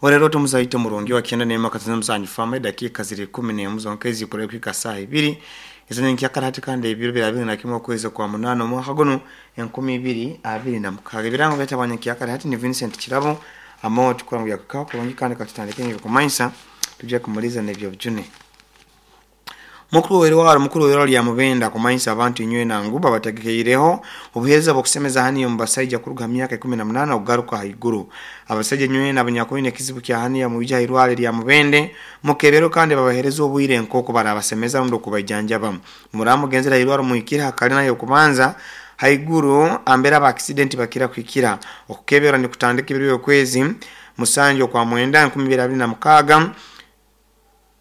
Orero tumuzaite murungi wa 97.7 fama. Edakika ziri 11 zonka ezikore kwika saa 2 ezanyenkyakara hati, kandi ebiro bya 21 okwezi kwa 8 omwaka guno 2026. Ebirango byatabwanyenkyakara hati ni Vincent Kirabo amo tukora ngu yakukaho kurungi, kandi katutandike n'ebyokumanyisa tujja kumuliza n'ebyobujune. Mukuru werwaro lya Mubenda kumanyisa abantu inywe nangu babategekeireho obuheereza bw'okusemeza haniya omu basaija kuruga ha myaka 18 okugaruka haiguru. Abasaija nywena abanyakwine ekizibu kya haniya, mwije ha irwaro lya Mubende mukebero kandi babahereza obwire nk'oku barabasemeza rundi okubaijanjaba. Muraba mugenzere ha irwaro, muhikire ha kalina y'okubanza haiguru ambere aba accident bakira kuhikira. Okukebera nikutandika ebiro by'okwezi 7 okwa 9 2026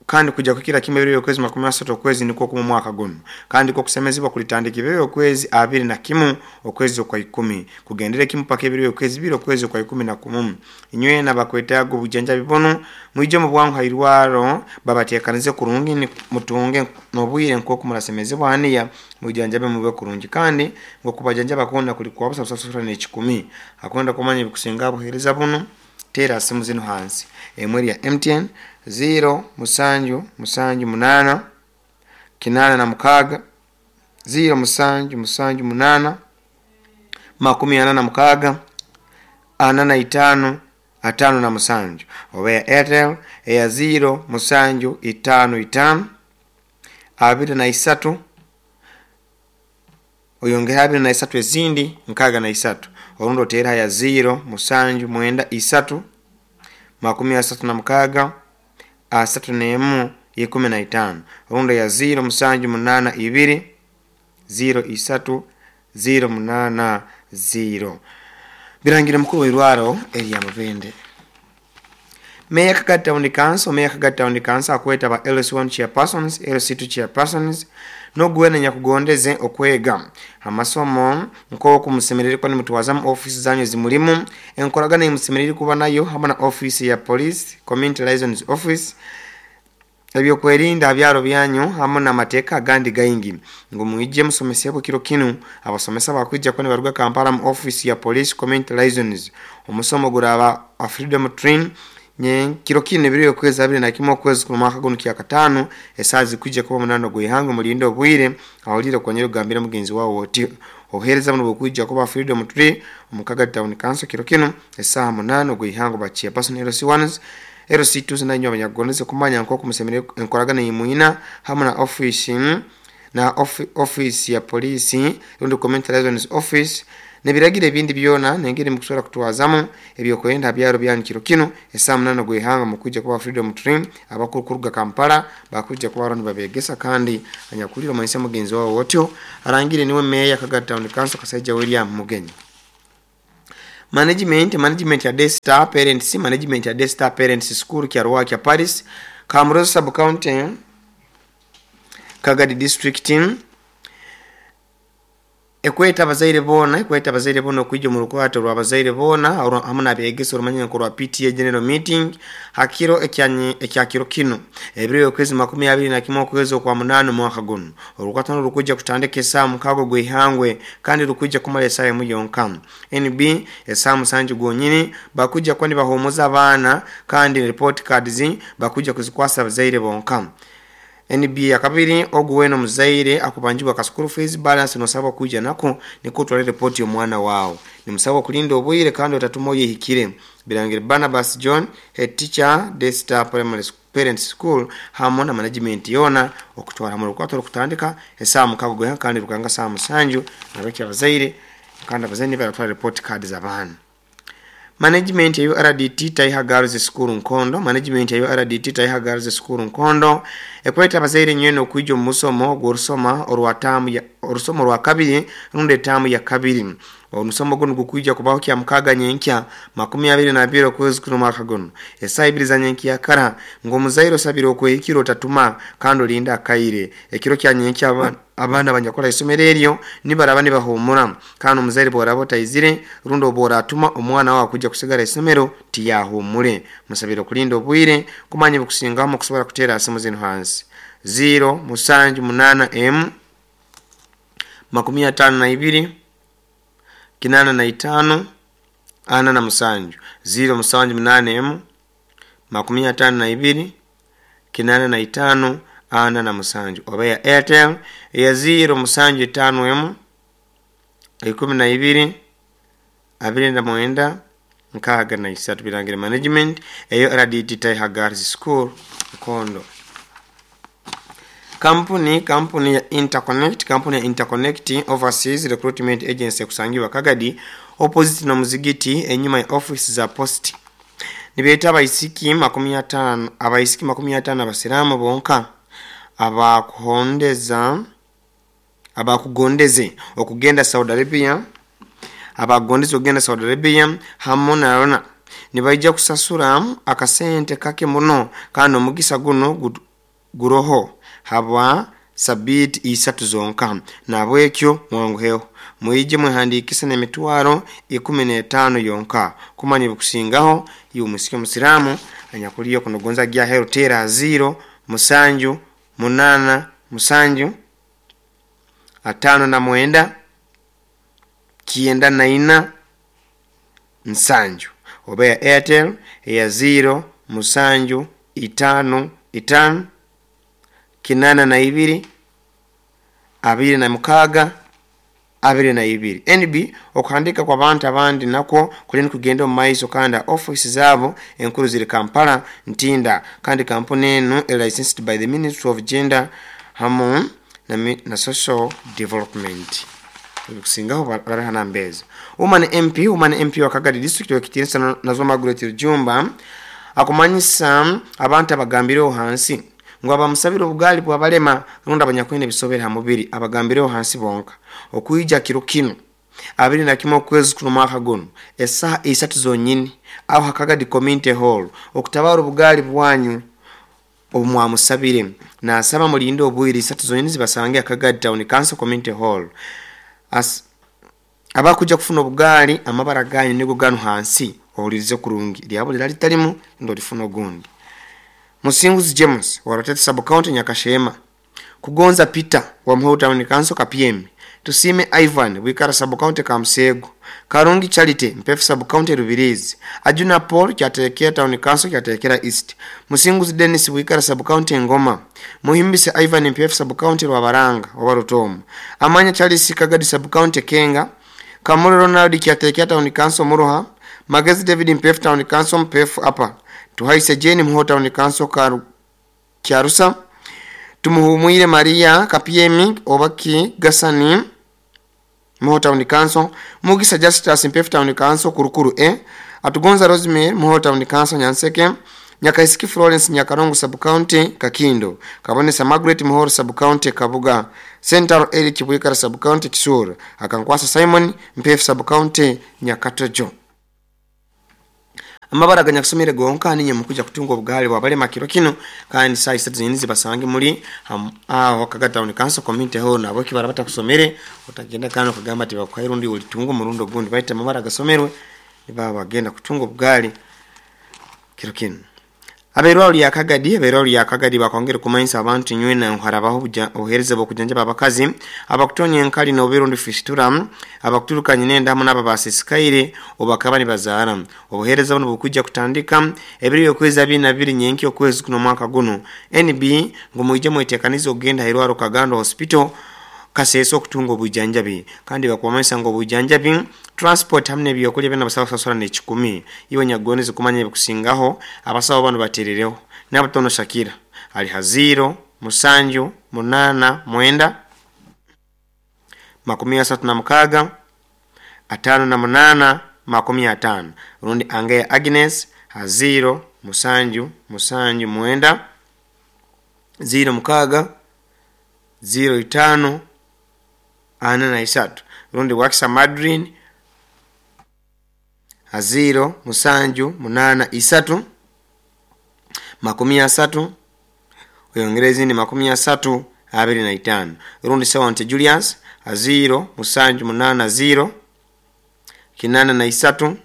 kandi kujya kukira kimwe ebiro by'okwezi 30 okwezi nikwo kumu omwaka guno, kandi kokusemezibwa kulitandika ebiro by'okwezi 21 okwezi okwa 10 kugendera kimu paka ebiro by'okwezi 2 okwezi okwa 11. Inywena bakwetaaga obujanjabi bunu, mwije mu bwangu ha irwaro babateekanize kurungi, mutunge n'obwire nk'oku murasemezibwa haniya, mwijanjabe mube kurungi, kandi ng'okubajanjaba kwona kuli kwa busa, busasura n'ekikumi. Akwenda kumanya ebikusinga buheereza bunu, teera simu zinu hansi: emwe erya MTN 0 7 7 8 86 0 7 7 8 46 45 57, oba ya Airtel eya 0 7 5 5 23, oyongera 23 ezindi 63, orundi oteera ya 0 7 9 3 36 31 15, orundi ya 0 7 8 2 0 3 0 8 0. Birangire mukuru w'irwaro erya Mubende. Meya Kagadi Town Council, Meya Kagadi Town Council akweta ba LC1 chairpersons, LC2 chairpersons n'oguwena nyakugondeze okwega amasomo nk'oku musemerere kuba nimutwazamu ofisi zanyu zimulimu, enkoragana emusemerere kuba nayo hamwe na ofisi ya police, community liaisons office, ebyokwerinda byaro byanyu hamwe n'amateeka agandi gaingi, ngu mwije musomesebwe kiro kinu. Abasomesa bakwija kuba nibaruga Kampala mu ofisi ya police community liaisons. Omusomo guraba a freedom train nye kiro kinu ebiro okwezi 21 okwezi kuno mwaka guno kyakataano, esaaha zikwijja kuba 8 ogw'ihangwe. Mulinde obwire, awulire okonyera okugambira mugenzi wawe oti obuheereza buno bukwijja kuba Freedom Tree omu Kagadi Town Council kiro kinu esaaha 8 ogw'ihangwe. Ba chairperson, LC1s, LC2s nainywe abanyakugondeze kumanya nk'oku musemerere enkoragana eyimwina hamwe na ofisi na ofisi ya poliisi rundi community liaisons office n'ebiragiro ebindi byona n'engeri mukusobora kutwazamu ebyokwerinda ha byaro byanyu, kiro kinu esaaha 8 ogw'ihanga mukwija kuba Freedom Tree. Abakuru kuruga Kampala bakwija kuba baro nibabegesa, kandi anyakulire omanyise mugenzi wawe otyo. Arangire niwe meya Kagadi Town Council, Kasaija William Mugenyi. Management ya Daystar Parents, management ya Daystar Parents School, Kyarwakya Paris, Kamuroza Sub County, Kagadi District, ekweta abazaire boona, ekweta abazaire boona okwija omu rukwato rw'abazaire boona hamu n'abeegesa orumanyire nkorwa PTA general meeting ha kiro ekya kiro kinu ebiro by'okwezi 21 okwezi okwa 8 omwaka guno. Orukwato nuru rukwija kutandika esaaha 6 ogw'ihangwe kandi rukwija kumara esaaha emu yonka. NB esaaha 7 gonyini bakwija kuba nibahumuza abaana, kandi report cards bakwija kuzikwasa abazaire bonka. NB ya kabiri, ogu wena omuzaire akubanjibwa ka school fees balance, nosabwa kwija nako nikwo otwale report y'omwana wawe. Nimusabwa kulinda obwire kandi otatuma oyehikire. Birangire Barnabas John, head teacher, Daystar Primary Parents School, hamwe na management yoona okutwara hamwe. Orukwato rukutandika esaaha 6 gw'ihangwe kandi rukanga saaha 7 nabeki abazaire, kandi abazaire nibaratwara report card z'abaana. Management ya URDT Taiha Girls School Nkondo, management ya URDT Taiha Girls School Nkondo ekweta abazaire nywena okwija omu musomo gw'orusoma orwa taamu ya orusomo rwa kabiri rundi etaamu ya kabiri. Omusomo guno gukwija kubaho kya mukaaga nyenkya 22 okwezi kuno omwaka guno esaaha 2 za nyenkyakara, ngu omuzaire osabire okwehikira otatuma kandi olinde akaire. Ekiro kya nyenkya abaana abanyakora isomero eryo nibaraba nibahumura, kandi omuzaire bworaba otaizire rundi obu oratuma, omwana wawe akujja kusigara isomero tiyahumure. Musabire okulinda obwire. Kumanya ebikusingaho kusobora kuteera simu zinu hansi: 0 7 8 m 52 85 47, 0 7 8 m. 52 85 47 oba ya Airtel eya 0 7 5 1 12 29 63 Birangire Management eyo RDT Taiha Girls School Nkondo. Kampuni ya Interconnect, kampuni ya Interconnect Overseas Recruitment Agency kusangiwa Kagadi opposite na muzigiti enyuma ya office za post. Nibeeta abaisiki 50, abaisiki 50 abasiramu bonka abakugondeze okugenda Saudi Arabia, abagondeze okugenda Saudi Arabia hamu na rona nibaija kusasura akasente kake muno kandi omugisa guno guroho habwa sabiti 3 zonka. Nabwekyo mwanguheho mwije mwehandikise n'emitwaro 15 yonka kumanya bikusingaho. Iwe musike musiramu anyakuliyo kunogonza gya hero tera 0 7 8 7 5 9 94 7 oba ya Airtel ya 0 7 5 5 82 26 22. NB okuhandika kwa bantu abandi nako kulini kugenda omu maiso kandi office zabo enkuru ziri Kampala Ntinda kandi kampuni enu licensed by the Ministry of Gender hamu na Social Development. Kusingaho baraha nambezi. Woman MP wa Kagadi District wekitinsa nazo Margaret Rujumba akumanyisa abantu abagambireho hansi ngo abamusabira obugali bwabalema rundi abanyakwine bisobera ha mubiri abagambireho hansi bonka okuija kiro kino 21 okwezi kuno mwaka guno esaha 3 zonyini aho Hakagadi Community Hall okutabara obugali bwanyu obumwamusabire. Nasaba mulinde obwire 3 zonyini zibasange Akagadi Town Council Community Hall. Abakuja kufuna obugali amabara ganyu nigo ganu hansi ohulirize kurungi lyabo liralitalimu ndo lifuna ogundi. Musinguzi James wa Rotete Sub County Nyakashema, Kugonza Peter wa Muhoro Town Council KPM, Tusime Ivan Wikara Sub County Kamsego, Karungi Charity Mpefu Sub County Rubirizi, Ajuna Paul Kyatekera Town Council Kyatekera East, Musinguzi Dennis Wikara Sub County Ngoma, Muhimbise Ivan Mpefu Sub County Rwabaranga oba Rutomo, Amanya Charles Kagadi Sub County Kenga, Kamuri Ronald Kyatekera Town Council Muruha, Magezi David Mpefu Town Council Mpefu Upper, Tuhaise Jane Muhoro Town Council Kyarusa, Tumuhumwire Maria Kapiemi Obaki Gasani Muhoro Town Council, Mugisa Justus Mpefu Town Council Kurukuru E, Atugonza Rosemary Muhoro Town Council Nyanseke, Nyakaisiki Florence Nyakarongo Sub County Kakindo, Kabonesa Margaret Muhoro Sub County Kabuga, Central Eric Bwikara Sub County Kisura, Akankwasa Simon Mpefu Sub County Nyakatojo. Amabara ganyakusomere gonka ninye mukuja kutunga obugali bwabalema kiro kino kandi saa 3 zonyini zibasange muri aho Kagadi Town Council Community Hall. Nabo kibara batakusomere utagenda kano kagamba ati bakwaira undi ulitunga murundo gundi baita amabara gasomerwe nibaba bagenda kutunga obugali kiro kino. Aberwa ya Kagadi, aberwa ya Kagadi bakongera kumanyisa abantu nywena nkharabaho obuhereza bwokujanja babakazi abakutonya enkali n'obirundi fisitura abakuturukanye nenda hamwe n'ababasisikaire obakaba nibazaara. Obuhereza buno bukujja kutandika ebiri okwezi 22 nyenki okwezi kuno mwaka guno. NB ngo muje mwetekanize ogenda Hirwaro Kagando Hospital Kaseso okutunga obujanjabi kandi bakwamanyisa ngo obujanjabi transport hamwe n'ebyokulya byonna basawo kusasula n'ekikumi. Iwe nyagonize kumanya ebikusingaho abasawo bano baterereho n'abatono Shakira ali ha 0 7 8 9 36 58 50 rundi Angea Agnes ha 0 7 7 9 0 6 0 5 43 rundi Wakisa Madrin ha 0 7 8 3 30 oyongereza ni 30 25 rundi Sawante Julius ha 0 7 8 0 83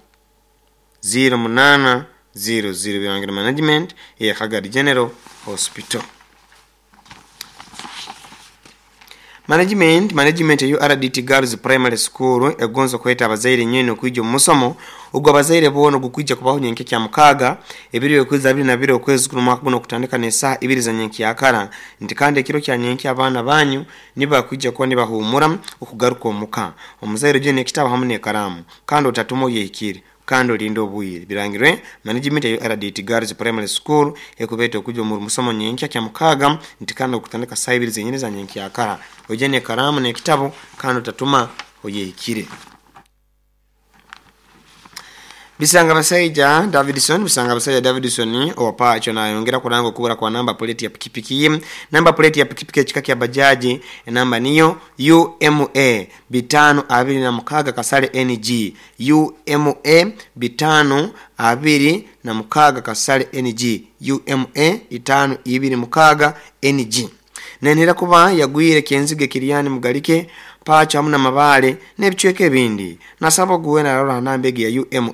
0 8 0 0 Birangiro Management ya Kagadi General Hospital. Management ya URDT Girls Primary School egonza kweta abazaire nyene okwijja omu musomo ogwo abazaire boona ogukwija kubaho nyenkya kya mukaaga ebiro okwezi 22 okwezi kuno mwaka guno okutandika n'esaaha 2 za nyenkyakara nti kandi ekiro kya nyenkya abaana banyu nibakwija kuba nibahumura okugaruka omuka. Omuzaire ojye n'ekitabo hamu n'ekaraamu kandi otatuma oyehikire kandi olinde obwire. Birangirwe management ya URDT Girls Primary School ekubeeta okujja omu musomo nyenkya kya mukaaga nti kandi okutandika saaha 2 zenyini za nyenkyakara. Ojye n'ekaraamu n'ekitabo kandi otatuma oyehikire. Bisanga Basaija Davidson owa Pacho nayongera kuranga okubura kwa namba plate ya pikipiki ye. Namba plate ya pikipiki ekika kya bajaji enamba niyo UMA 526 kasale NG, UMA 526 kasale NG, UMA 526 NG. Nenera kuba yagwire kenzige Kiriani Mugalike Pacho hamu na Mabale n'ebicweka ebindi. Nasaba oguwe narora namba egi ya UMA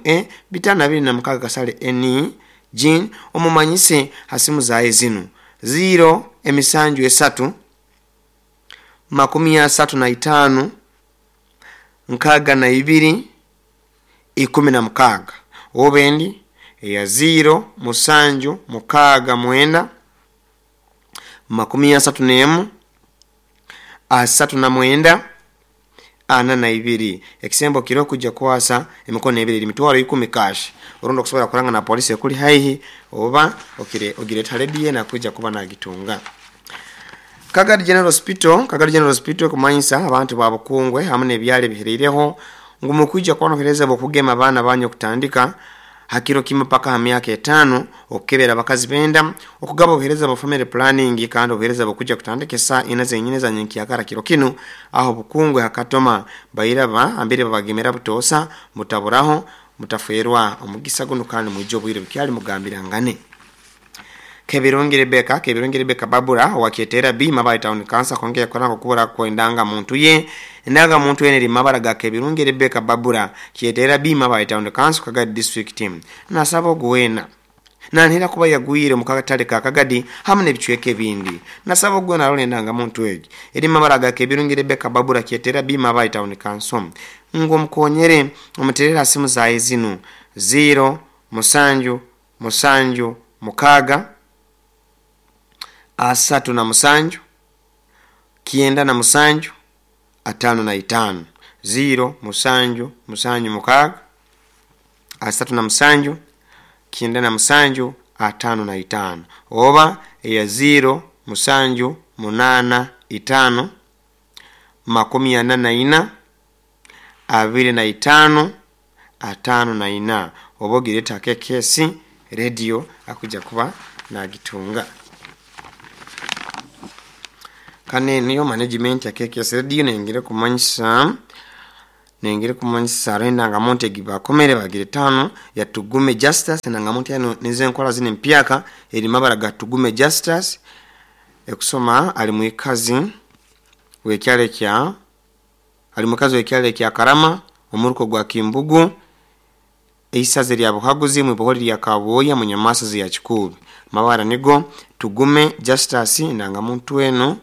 526 kasale NG omumanyise hasimu zaye zinu 0 emisanju esatu 35 62 16 obendi ya 0 musanju mukaaga mwenda 31 39 42. Ekisembo kiro kujja kwasa emikono ebiri emitwaro 10 cash orundo okusobola kuranga na polisi ekuli haihi oba okire ogireta radio na kuja kuba nagitunga. Kagadi General Hospital kumanyisa abantu babukungwe hamu n'ebyalo bihireireho ngu mukwijja kwanohereza bokugema abaana banyu okutandika hakiro kimwe paka ha myaka 5 okukebera abakazi benda okugaba obuhereza bwa family planning kandi obuhereza bukujja kutandika saa 4 zenyine za nyenkyakara kiro kinu aho bukungwe hakatoma bairaba ambire babagemera butosa mutaburaho mutaferwa omugisa guno kandi mwijjo obwire bukyali mugambirangane. Kebirungi Rebeka Babura wakietera B Mabayi Town Council kongera kuranga kubura kwendanga muntu ye endanga muntu ye eri mabara ga Kebirungi Rebeka Babura kietera B Mabayi Town Council Kagadi District Team. Nasaba ogwena nanhira kuba yagwire mu katale ka Kagadi hamu n'ebicweka ebindi. Nasaba ogwena arole endanga muntu egi eri mabara ga Kebirungi Rebeka Babura kietera B Mabayi Town Council ngo mukonyere omuterera simu zaye zinu 0 musanju musanju mukaaga 37 97 55 0 musanju musanju mukaaga 37 97 55 oba eya 0 musanju 8 5 44 25 54 oba ogireta KKS radio akuja kuba nagitunga. Kane niyo management ya KKS radio nengire kumanyisa renda nga monte gibakomere bagire 5 ya Tugume Justice na ngamonte yano nize nkola zine mpyaka eri mabara ga Tugume Justice ekusoma ali muikazi wekyale kya ali mukazi wekyale kya Karama omuruko gwa Kimbugu eisaze lya Buhaguzi mu boholi lya Kaboya mu nyamasa ya Kikubi. Mabara nigo Tugume Justice nanga muntu eno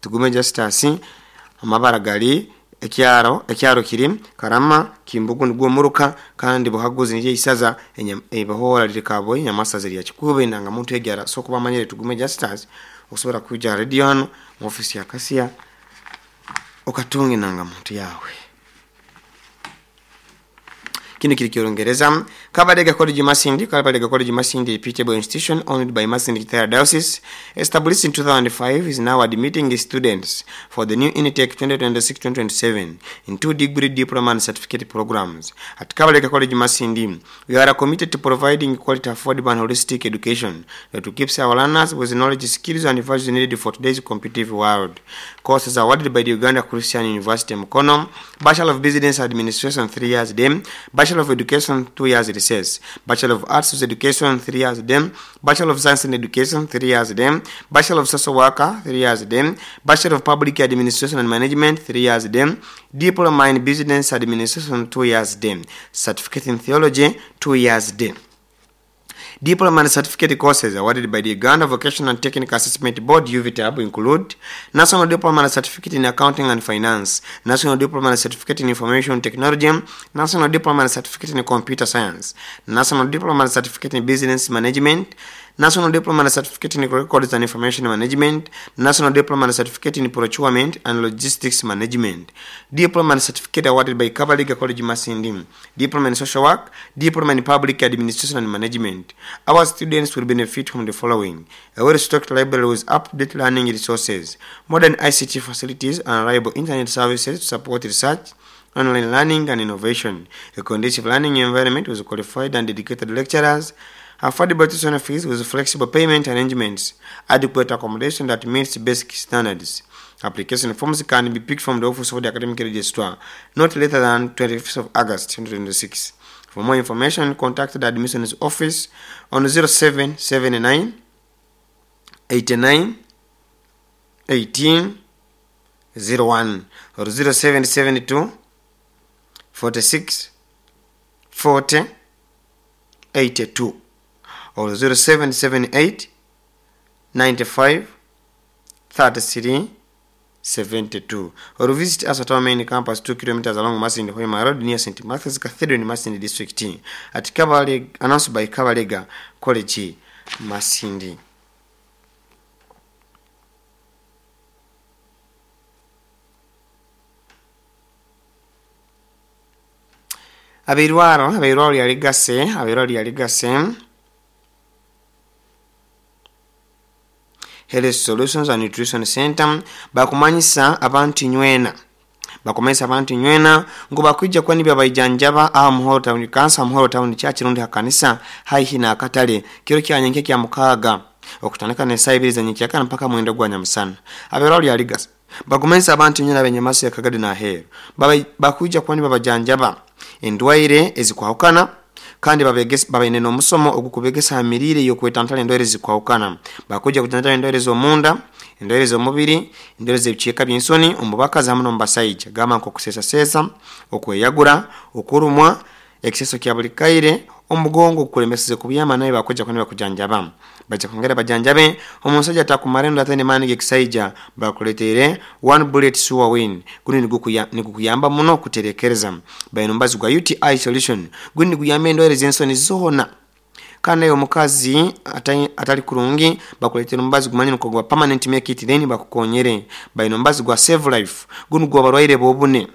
Tugume Justice amabara gali ekyaro kiri Karama Kimbugu nigwo muruka kandi Buhaguzi nije isaza ebohora liri Kaboya nyamasa ya Kikubi nanga muntu egyara so kuba manyere Tugume Justice okusobola kuja radio hano mu office ya Kasia okatunge nanga muntu yawe. Kino kiri Kiingereza. Kabadega College Masindi, reputable institution owned by Masindi Diocese, established in 2005, is now admitting students for the new intake 2026-2027 in 2 degree, diploma and certificate programs. At Kabadega College Masindi, we are committed to providing quality, affordable and holistic education that keeps our learners with knowledge, skills and values needed for today's competitive world. Courses awarded by the Uganda Christian University Mukono: Bachelor of Business Administration 3 years dem, Bachelor of Education 2 years recess, Bachelor of Arts with Education 3 years dem, Bachelor of Science in Education 3 years dem, Bachelor of Social Worker 3 years dem, Bachelor of Public Administration and Management 3 years dem, Diploma in Business Administration 2 years dem, Certificate in Theology 2 years dem. Diploma and certificate courses awarded by the Uganda Vocational and Technical Assessment Board UVTAB include National Diploma and Certificate in Accounting and Finance, National Diploma and Certificate in Information Technology, National Diploma and Certificate in Computer Science, National Diploma and Certificate in Business Management, National Diploma and Certificate in Records and Information Management, National Diploma and Certificate in Procurement and Logistics Management, Diploma and Certificate awarded by Kabalega College Masindi, Diploma in Social Work, Diploma in Public Administration and Management. Our students will benefit from the following: a well-stocked library with up-to-date learning resources, modern ICT facilities and reliable internet services to support research, online learning and innovation, a conducive learning environment with qualified and dedicated lecturers, affordable tuition fees with flexible payment arrangements, adequate accommodation that meets basic standards. Application forms can be picked from the office of the academic registrar not later than 25th of August 2026. For more information, contact the admissions office on 0779 89 18 01 or 0772 46 40 82 or 0778 95 33 72 or visit us at our main campus, 2 kilometers along Masindi Hoima Road near St. Matthew's Cathedral in Masindi District at Kabalega, announced by Kabalega College Masindi. Abeirwaro lyaligase, abeirwaro lyaligase Health Solutions and Nutrition Center bakumanyisa abantu nywena, bakumanyisa abantu nywena ngo bakwijja kwa nibya baijanjaba aha Muhoro Town Council, Muhoro Town Church rundi hakanisa haihi na akatale kiro kyanyenke kya mukaaga okutandika ne saa 2 za nyenkyakara mpaka mwenda gwa nyamusana. Abeirwaro lyaligase bakumanyisa abantu nywena benyamaso ya Kagadi na Ahero bakwijja kwa nibya bajanjaba endwaire ezikwahukana kandi babaine n'omusomo ogukubegesa amirire y'okwetantara endwaire zikwahukana. Bakuja kutantara endwaire z'omunda, endwaire z'omubiri, endwaire z'ebiceeka by'ensoni omu bakazi hamu n'omu basaija, gamba nk'okusesasesa, okweyagura, okurumwa, ekiseso kya buli kaire, omugongo okukulemeseze kubyama, naye bakuja kuba bakujanjaba. Baja kwongera bajanjabe omusajja atakumara endo ataine maani g'ekisaija, bakuleteire one bullet sure win. Guno nigukuyamba muno kuterekereza. Baine omubazi gwa UTI solution, guno niguyamba endwaire z'ensoni zoona. Kandi naye omukazi atali kurungi bakuleetera omubazi gumanyire nko gwa permanent make it then bakukonyere. Baine omubazi gwa save life, guno gw'abarwaire b'obune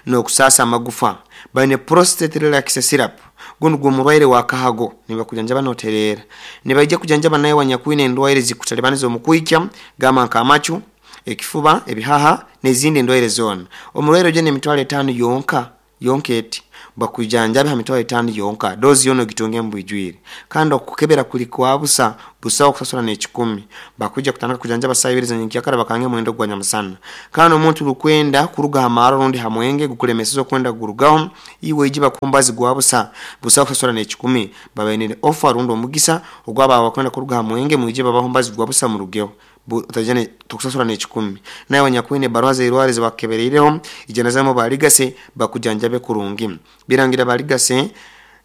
n'okusaasa amagufa. Baine prostate relax syrup, guno gw'omurwaire wa kahago nibakujanjaba noterera. Nibaija kujanjaba naye wanyakwine endwaire zikutalibaniza omukwikya gamba nk'amacu, ekifuba, ebihaha n'ezindi endwaire zoona. Omurwaire oje n'emitwaro 5 yonka yonka eti bakujanjabe ha mitwaro 5 yonka, dozi yono gitunge mbwijwire, kandi okukebera kuli kwa busa busa okusasula n'ekikumi. Bakuja kutandika kujanjaba saa 2 za nyenkyakara bakange mwendo gwa nyamusana. Kandi omuntu rukwenda kuruga hamaro rundi hamwenge gukulemeseza okwenda gurugaho iwe iji bakumbazi gwa busa busa okusasula n'ekikumi. Babainire offer rundi omugisa ogwaba bakwenda kuruga hamwenge mwije babaho mbazi gwa busa murugeho utajane tukusasula n'ekikumi. Naye wanyakwine barua z'eirware zibakebereireho ijanazamo baligase bakujanjabe kurungi. Birangira baligase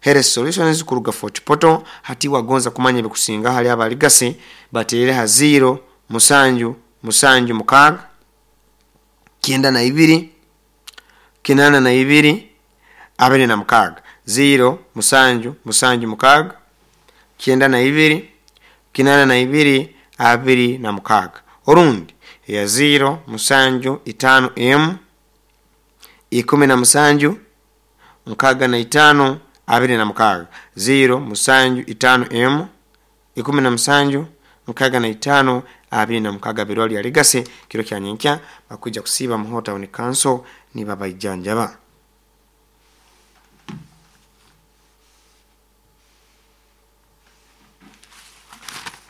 Health Solutions kuruga Fort Portal hati wagonza kumanya ebikusinga hali abaligase baterere ha 0 7 7 6 92 82 26 0 7 7 6 92 82 26 orundi ya 0 7 5 M 17 65 26 0 7 5 M 17 65 26. Birwali aligase kiro kya nyenkya bakuja kusiba Muhoro Town Council ni babaijanjaba.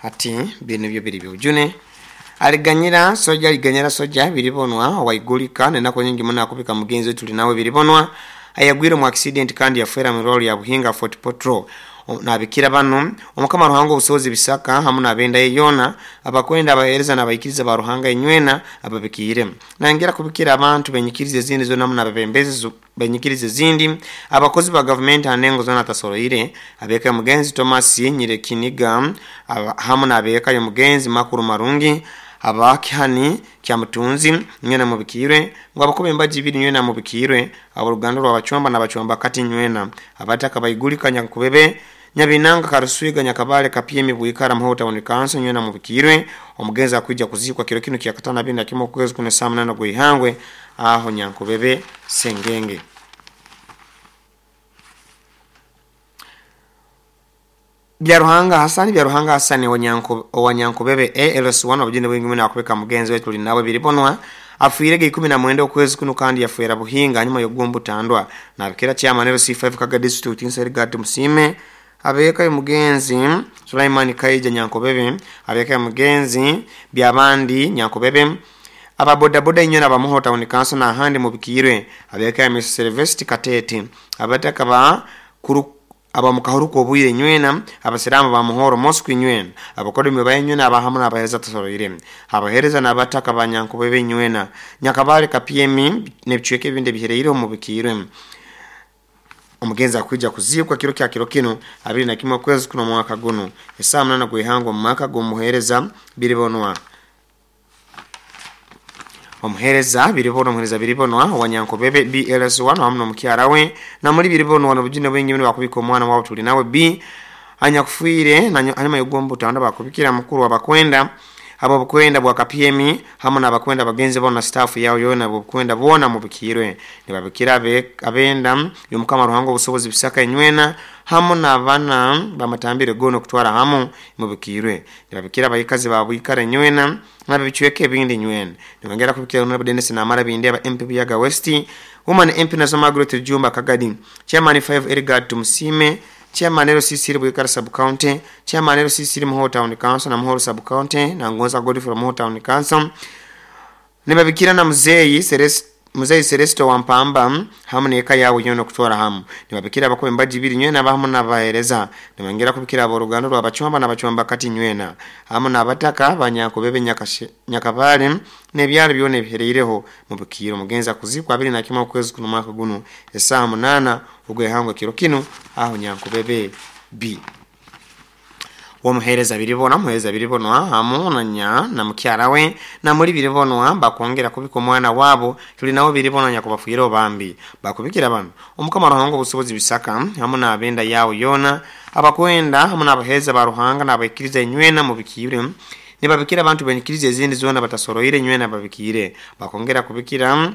Hati bino byo biri byujune aliganyira soja aliganyira soja biribonwa waigulika nenako nyingi muna akubika mugenzi wetu tuli nawe biribonwa ayagwire mu accident kandi yafera mu role ya Buhinga Fort Portal. Nabikira banu omukama Ruhanga obusobozi bisaka hamu n'abenda ye yoona abakwenda abaheereza n'abaikiriza ba Ruhanga inywena ababikiire. Nayongera kubikira abantu benyikiriza ezindi zoona hamu n'abebembezi benyikiriza ezindi, abakozi ba gavumenti ha ndengo zoona atasoroire, abeeka y'omugenzi Thomas Nyirekiniga hamu n'abeeka y'omugenzi Makuru Marungi, abakihani Kyamutunzi nywena mubikiirwe, ngu abakuba embaji ibiri nywena mubikiirwe, ab'oruganda rw'Abacwamba n'Abacwamba kati nywena, abataka Baigulika Nyankubebe Nyabinanga Karuswiga Nyakabale Kapyemi Bwikara Muhoro Town Council nywena mubikiirwe. Omugenzi akwija kuziikwa kiro kinu kya katano abiri na kimu okwezi kuno saa 8 gw'ihangwe aho Nyankubebe Sengenge. Byaruhanga Hasani, Byaruhanga Hasani owa Nyankubebe ALS1 obujune bwingi muno akubika mugenzi wetu tuli nawe biribonwa afuirege 19 okwezi kuno kandi yafuera Buhinga nyuma y'okugombutandwa. Nabikira chairman LC5 Kaga District Inserigati Musime, abeeka y'omugenzi Sulaiman Kaija Nyankubebe, abeeka y'omugenzi Byabandi Nyankubebe, ababodaboda inywena abamuho Town Council n'ahandi mubikiirwe, abeeka ya Mr. Sylvester Katete, abataka ba kuru abamukahuruka obwire nywena, abasiramu ba Muhoro Mosque nywena, abakodemi ba nywena abahamu n'abahereza tasoroire, abahereza n'abataka ba Nyankubebe nywena, Nyakabale Kapyemi n'ebicweka ebindi ebihereire omubikiirwe. Omugenzi akwija kuziikwa kiro kya kiro kinu 21 okwezi kuno omwaka guno esaa 8 gw'ihangwe omu maka g'omuheereza Biribonwa. Omuheereza Biribonwa, omuheereza Biribonwa owa Nyankubebe BLS1 hamu n'omukyara we namuli Biribonwa n'obujune bwingi muno bakubika omwana wabo tuli nawe B anyakufiire hanyuma y'okugombutanda bakubikira mukuru w'abakwenda abobukwenda bwa Kapyemi hamu n'abakwenda bagenzi bona na staff yao yoona abobukwenda boona mubikiirwe. Nibabikira abenda y'omukama Ruhanga obusobozi bisaka enywena hamu n'abana bamatambire goona okutwara hamu mubikiirwe. Nibabikira abaikazi ba Bwikara enywena n'ab'ebicweka ebindi nywena. Nibongera kubikira Honorable Dennis Namara Bindeba MP Buyaga West, Woman MP Nazo Margaret Rujumba Kagadi, Chairman 5 Erigard Tumusime, Chairman LCC Bwikara Sub County, Chairman LCC Muhoro Town Council na Muhoro Sub County na Ngonza Godfrey Muhoro Town Council. Nibabikira na Muzeyi Celeste Wampamba hamu n'eka yawe yoona okutwara hamu. Nibabikira abakuba embaji ibiri nywena hamu n'abahereza. Nibongera kubikira ab'oruganda rw'Abacwamba n'Abacwamba kati nywena hamu n'abataka ba Nyankubebe Nyakabale n'ebyaro byona ebihereireho mubikiiro. Omugenzi akuzikwa 21 okwezi kuno omwaka guno esaa 8 ogw'ihangwe kiro kinu aho Nyankubebe B. Omuheereza Biribonwa, omuheereza Biribonwa hamu na mukyara we namuli Biribonwa bakwongera kubika omwana wabo tuli nawe Biribonwa nyakubafuire obambi. Bakubikira bano omukama Ruhanga obusobozi bisaka hamu n'abenda yawe yoona abakwenda hamu n'abaheereza ba Ruhanga n'abaikiriza enywena mubikiire. Nibabikira abantu benyikiriza ezindi zoona batasoroire nywena babikiire. Bakongera kubikira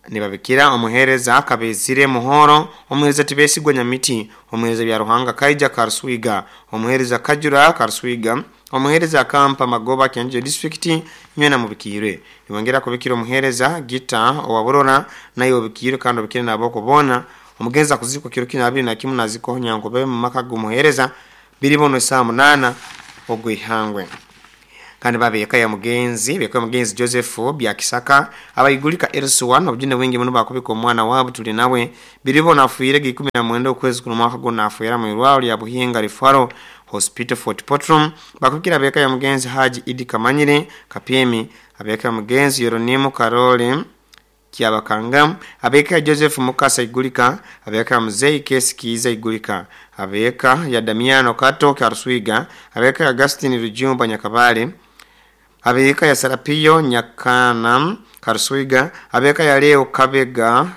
nibabikira omuheereza Kabezire Muhoro, omuheereza Tibesigwa Nyamiti, omuheereza Byaruhanga Kaija Karuswiga, omuheereza Kajura Karuswiga, omuheereza Kampa Magoba Kyanjo District nywena mubikiirwe. Nibongera kubikira omuheereza Gita owa Burora naye obikiirwe kandi obikire n'aboko boona. Omugenzi akuzikwa kiro kinu 21 nazikwaho Nyankubebe mu maka g'omuheereza Biribonwa esaa 8 ogw'ihangwe. Kandi babeeka ya mugenzi, beeka mugenzi Joseph Byakisaka abaigulika LC1 obujune bwingi muno bakubika omwana wabo tuli nawe Biribonwa afuire 19 okwezi kuno mwaka guno afuira mu irwaro lya Buhinga Referral Hospital Fort Portal. Bakubikira beeka ya mugenzi Haji Idi Kamanyire Kapyemi, abeeka ya mugenzi Yeronimu Karole Kyabakanga, abeeka ya Joseph Mukasa Igulika, abeeka ya Muzei Kesi Kiiza Igulika, abeeka ya Damiano Kato Karuswiga, abeeka ya Augustine Rujumba Nyakabale, abeeka ya Sarapiyo Nyakana Karuswiga, abeeka ya Leo Kabega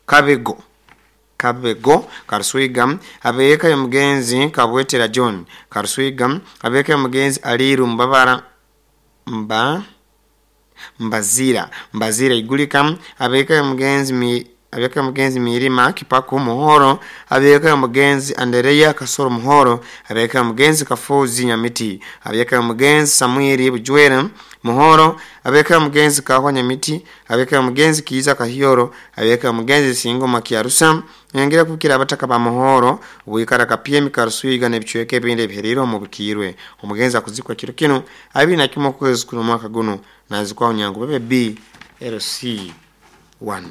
Kabego Kabego Karuswiga, abeeka ya mugenzi Kabwetera John Karuswiga, abeeka ya mugenzi Aliru Mbabara Mbazira Igulika, abeeka ya mugenzi Mirima Kipaku Muhoro, abeeka ya mugenzi Andereya Kasoro Muhoro, abeeka ya mugenzi Kafuzi Nyamiti, abeeka ya mugenzi Samueli Bujwera Muhoro, abeeka ya mugenzi Kahwa Nyamiti, abeeka ya mugenzi Kiiza Kahioro, abeeka ya mugenzi Singoma Kiarusa. Nyongera kubikira abataka ba Muhoro Bwikara Kapyemi Karuswiga n'ebicweka ebindi ebihereire omubikiirwe. Omugenzi akuzikwa kiro kinu 21 okwezi kuno mwaka guno nazikwaho Nyankubebe B LC1.